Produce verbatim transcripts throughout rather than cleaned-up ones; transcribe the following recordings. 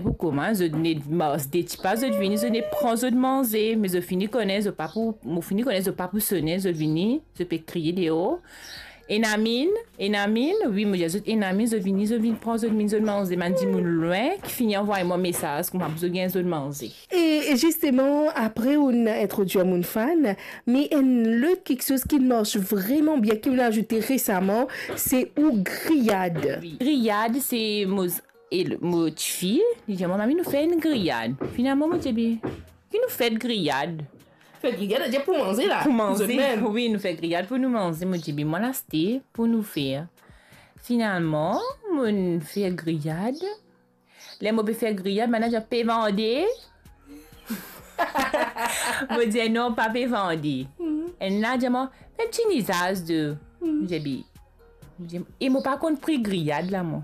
Pou kouma zot ne mars de tipa, zot vini, zot ne pran zot manze, me zot fini kone zot pa pou, mo fini kone zot pa pou sone, zot vini, zot pe kriye deor. Ena minn, ena minn, wi, mo dir zot ena minn, zot vini, zot vinn pran zot minn, zot manze, bann dimoun lwin ki fini anvway mwa mesaz kouma pou zot gagn zot manze. E, e zisteman, apre ou'nn introdwir Mounfann, me enn lot kiksoz ki mars vreman bien, ki ou'nn azoute resaman, se ou griyad. Wi. Griyad, se mo, e mo tifi, li dir mwa, "Mami, nou fer enn griyad." Finalman, mo dir, "Be, ki nou fer griyad?" Fer griyad, dir pou manze la. Pou manze, zot mem. Wi, nou fer griyad pou nou manze. Mo dir, "Be, mwa, aste pou nou fer." Finalman, mo'nn fer griyad. Ler mo pe fer griyad, bann la dir, "Pe vande?" Mo dir, "Non, pa pe vande." Mhm. Enn la dir mwa, "Fer ti nizaz de." Mhm. Mo dir, "Be," mo dir, "E mo pa konn pri griyad la, mwa.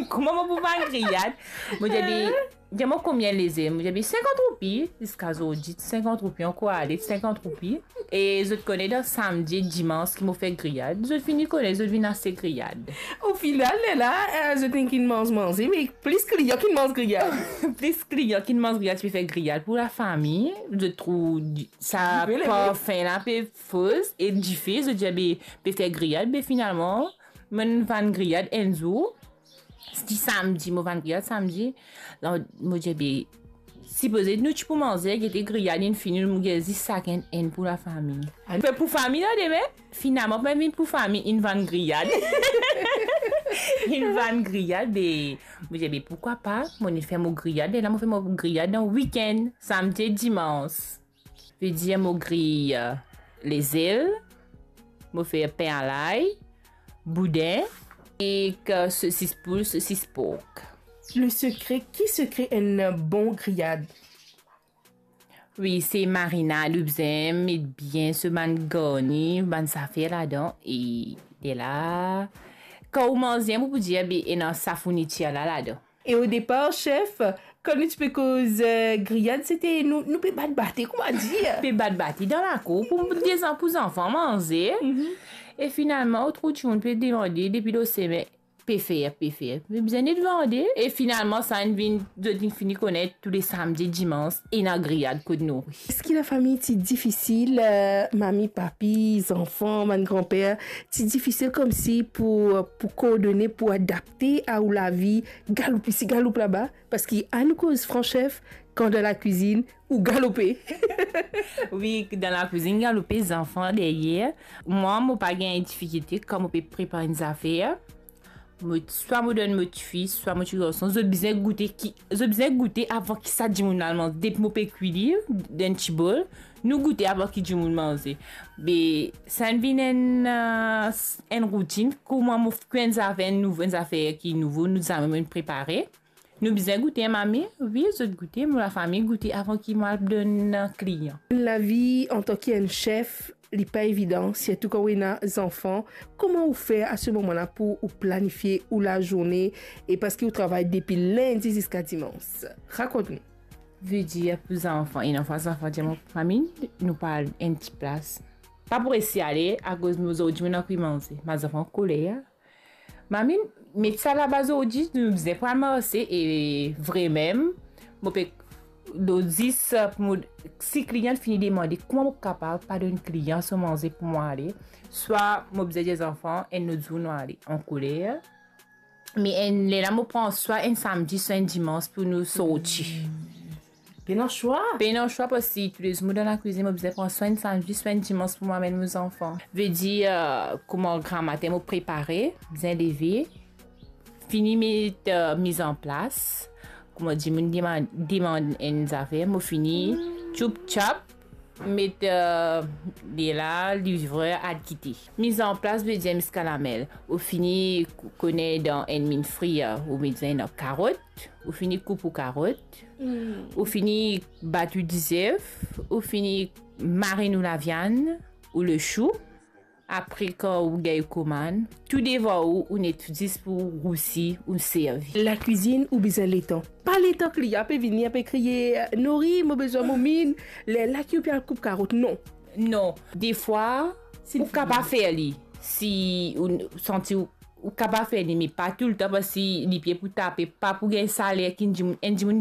Kouma mo pou vann griyad?" Mo dir, "Be, dir mwa konbien lezel?" Mo dir, "Be, sinkant roupi." Ziska zordi, sinkant roupi ankor ale, sinkant roupi. E zot kone dan samdi, dimans ki mo fer griyad, zot fini kone, zot vinn aste griyad. Ofinal, lerla, eh, zot inn kinn manz manze, me plis klian kinn manz griyad. Plis klian kinn manz griyad, ti pe fer griyad pou lafami. Zot trouv di-, sa dife, parfin la pe foz, e dife, zot dir, "Be, pe fer griyad." Be finalman, mo'nn vann griyad enn zour. Ti samdi, mo vann griyad samdi. La, mo dir, "Be, sipoze nou ti pou manze, gete griyad inn fini, nou gagn zis sakenn enn pou lafami." Fer pou fami la demin, finalman, pa vinn pou fami, inn vann griyad. Inn vann griyad, be, mo dir, "Be, poukwa pa?" Mo'nn fer mo griyad, e la, mo fer mo griyad dan wikenn, samdi, dimans. Vedir mo griy, eh, lezel, mo fer pin alay, boudin, ek sosis poul, sosis pork. Le sekre, ki sekre enn bon griyad? Wi, se marinad, ou bizin met bien so bann garni, bann zafer ladan, e lerla, kan ou manze, ou pou dir, be, ena sa fournitir la ladan. E o depar, sef, kan nou ti pe koz, eh, griyad, sete nou, nou pe bat bate, kouma dir? Pe bat bate dan lakour pou dezan-, pou zanfan manze. Mhm. E finalman, ou trouv dimoun pe demande depi lor semen, pe fer, pe fer. Me bizin net vande. E finalman, sa inn vinn, zot inn fini kone tou le samdi, dimans, ena griyad kot nou. Eski lafami ti difisil, eh, mami, papi, zanfan, bann granper, ti difisil koumsi pou, pou kordone, pou adapte a ou lavi galoup isi, galoup laba? Parski anou koz fran, sef, kan dan lakwizinn, ou galope. Wi, dan lakwizinn, galope, zanfan deryer. Mwa, mo pa gagn difikilte kan mo pe prepar enn zafer. Mo, swa mo donn mo tifi, swa mo tigarson, zot bizin goute ki, zot bizin goute avan ki sa dimoun al manze. Depi mo pe kwi li dan enn ti bol, nou goute avan ki dimoun manze. Be, sa inn vinn enn, eh, s-, enn routinn, kouma mo kwi enn zafer, enn nouvo, enn zafer ki nouvo, nou zame mo'nn prepare. Nou bizin goute, mami? Wi, zot goute, mo lafami goute avan ki mo al donn klian. Lavi antanki enn sef, li pa evidan, sirtou kan ou ena zanfan. Kouma ou fer a se moman la pou ou planifie ou lazourne, e parski ou travay depi lindi ziska dimans? Rakont nou. Vedir pou zanfan, ena fwa zanfan dir mwa, "Mami, nou pa al enn ti plas." Pa pou resi ale, akoz nou zordi nou ena kwi manze. Bann zanfan koler, "Mami, met sa laba zordi, nou bizin pou al marse." E vremem, mo pe, do zis, mo, si klian fini demande, kouma mo kapav pa donn klian so manze pou mo ale? Swa mo bizin dir zanfan, enn lot zour nou ale, an koler. Me enn, lerla mo pran swa enn samdi, swa enn dimans pou nou sorti. Pena swa. Pena swa, parski toulezour mo dan lakwizinn, mo bizin pran swa enn samdi, swa enn dimans pou mo amenn mo zanfan. Vedir, eh, kouma gramatin mo prepare, bizin leve, fini met, eh, mizanplas. Kouma dimoun demann, demann enn zafer, mo fini tchoup tchap, met, eh, lerla, livrer al kite. Mizanplas vedir miskalamel. Ou fini kou-, kone dan enn minn frir, ou bizin ena karot, ou fini koup ou karot, Hmm. ou fini bat ou dizef, ou fini marinn ou laviann, ou lechou. Apre, kan ou gagn ou komann, tou devan ou, ou net zis pou rousi, ou servi. Lakwizinn, ou bizin letan. Pa letan klian pe vini, pe kriye, "Nori, mo bizin mo minn." Lerla ki ou pe al koup karot, non. Non. Defwa, si ou kapav fer li. Si ou santi ou, ou kapav fer li, me pa toultan, parski lipie pou tape, pa pou gagn saler ki enn dimoun, enn dimoun